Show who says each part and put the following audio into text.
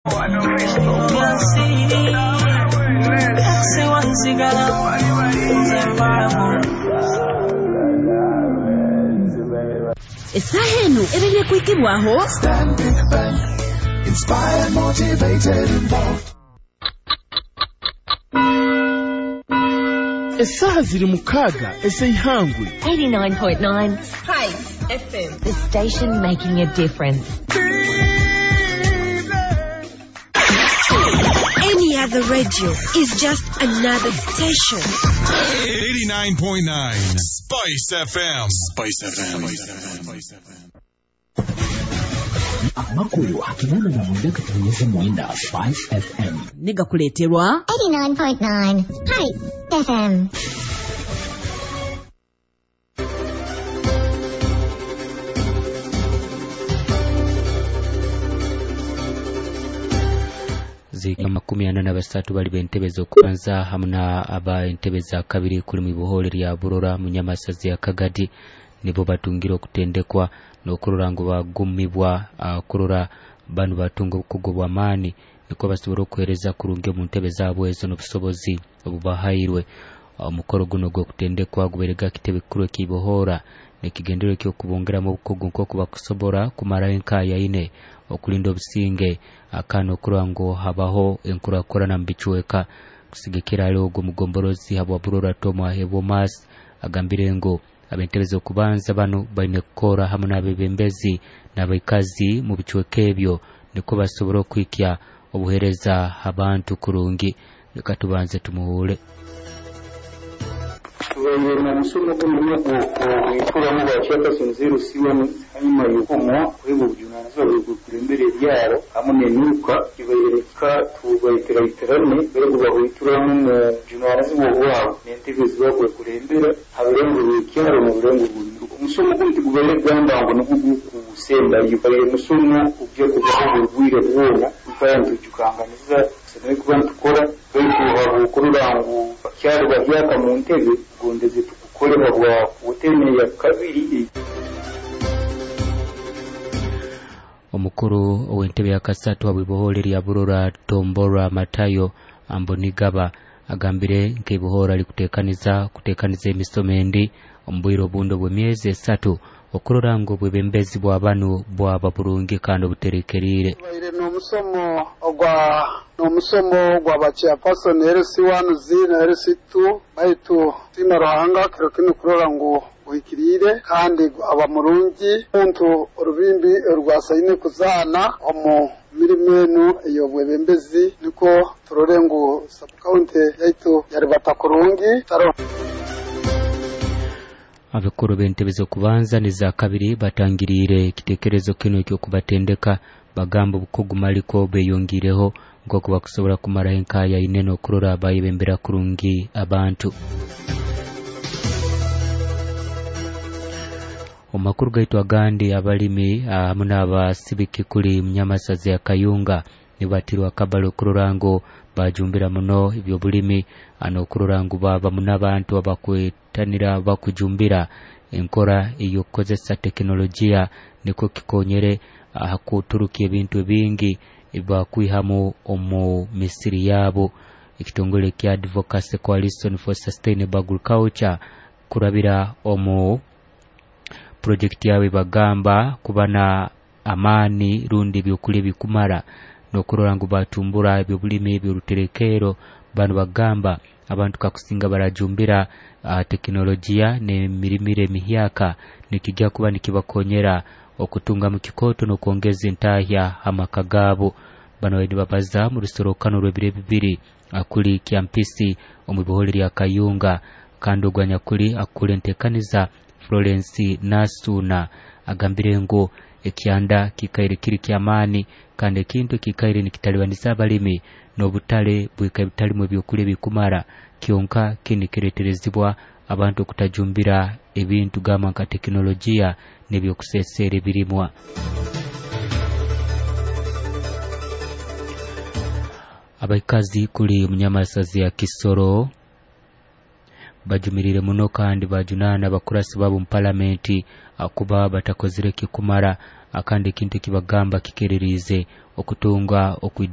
Speaker 1: Essaaha enu ebaire kuhikibwaho
Speaker 2: Stanbic Bank. Inspired, motivated, involved.
Speaker 3: Essaaha ziri 6 ez'eihangwe.
Speaker 4: 89.9 Spice FM. The station making a difference.
Speaker 1: Any other radio is just another station.
Speaker 5: 89.9 Spice FM. Spice FM.
Speaker 6: Amakuru 89.9 Spice FM.
Speaker 1: Negakuleeterwa
Speaker 7: 89.9 Hi FM.
Speaker 8: Zika 43 bali b'entebe z'okubanza hamu na aba entebe za kabiri kuli mu ibohole lya Burora mu Nyamasazi ya Kagadi nibo batungire okutendekwa n'okurora ngu bagumibwa kurora banu batunga obukugu bw'amaani niko basobora okuheereza kurungi omu ntebe zaabwe ezo n'obusobozi obubahairwe. Omukoro guno gw'okutendekwa gubaire kitebe kikuru eky'ibohora nekigendererwa eky'okubongeramu obukugu nk'oku bakusobora kumaraho enkaya ine okulinda obusinge akana okurora ngu habaho enkurakurana mu bicweka. Kusigikira hali ogwo mugomborozi habwa Burora Tom Ahebwomas agambire ngu ab'entebe z'okubanza banu baine kukora hamu n'abebembezi n'abaikazi mu bicweka ebyo niko basobora okuhikya obuheereza abantu kurungi. Reka tubanze tumuhuule.
Speaker 9: Tubaire n'omusomo guno ogwituramu ba chairperson 0C1 hanyuma y'okumwa kuhebwa obujunanizibwa bw'okulembera ebyaro hamwe n'emiruka kibaire ka tubaitiraiterane bari bahwituramu mu bujunanizibwa bwabo n'entebe ezibakwekulembera ha birengo by'ekyaro mu birengo bw'emiruka. Omusomo guno tigubaire kugamba ngu nugwo gukusembayo, baire musomo ogujya kubaho buri bwire bwona tukaba nitujukanganiza tusemeriire kuba nitukora baitu habwokurora ngu bakyali bahyaka mu ntebe gondeze tukukolebwa bwa woteme ya kabiri.
Speaker 8: Omukuru ow'entebe ya kasatu habw'ibohole lya Burora Tombora Matayo Ambonigaba agambire nk'ibohora likuteekaniza kuteekaniza emisomo endi omu bwire obundi obw'emyezi 3 okurora ngu obwebembezi bwa banu bwaba burungi kandi obuterekeriire.
Speaker 10: Tubaire n'omusomo ogwa n'omusomo gwa ba chairperson LC1 Z na LC2 baitu tina Ruhanga kiro kinu kurora ngu guhikiriire kandi aba murungi muntu orubimbi orwasaine kuzaana omu mirimo enu ey'obwebembezi niko turore ngu sub-county yaitu yaribata kurungi taro.
Speaker 8: Abakuru b'entebe z'okubanza n'iza kabiri batangiriire ekiteekerezo kinu eky'okubatendeka bagamba obukugu maliko beyongireho nk'oku bakusobora kumaraho enkaya ine n'okurora bayebembera kurungi abantu. Omu makuru gaitu agandi, abalimi hamu n'abasibiki kuli Munyamasazi ya Kayunga nibatirwa akabali okurora ngu bajumbira muno ebyobulimi n'okurora ngu baba muno abantu abakwetanira bakujumbira enkora ey'okukozesa tekinologiya niko kikonyere hakuturuka ebintu ebingi ebakwihamu omu misiri yabo. Ekitongole kya Advocacy Coalition for Sustainable Agriculture kurabira omu projekti yawe bagamba kuba na amaani rundi ebyokulya ebikumara n'okurora ngu batumbura ebyobulimi eby'oruterekero. Bano bagamba abantu kakusinga barajumbira tekinologiya n'emirimire emihyaka nikijja kuba nikibakonyera okutunga mu kikooto n'okwongeza entahya amaka gaabo. Bano baine babaza mu rusorokano rw'ebiro bibiri akuli Kyampisi omu ibohole lya Kayunga kandi ogwo anyakuli akukula enteekaniza Florence Nasuna agambire ngu ekyanda kikaire kiri ky'amaani kandi ekintu ekikaire nikitalibaniza abalimi n'obutale bwikaire butalimu ebyokulya ebikumara kyonka kini kireeterezibwa abantu okutajumbira ebintu gamba nka tekinologiya n'ebyokuseeseera ebirimwa. Abaikazi kuli Munyamasazi ya Kisoro bajumirire muno kandi bajunaana abakurasi babo mu palamenti kuba batakozire kikumara akandi ekintu ekibagamba kikereriize okutunga.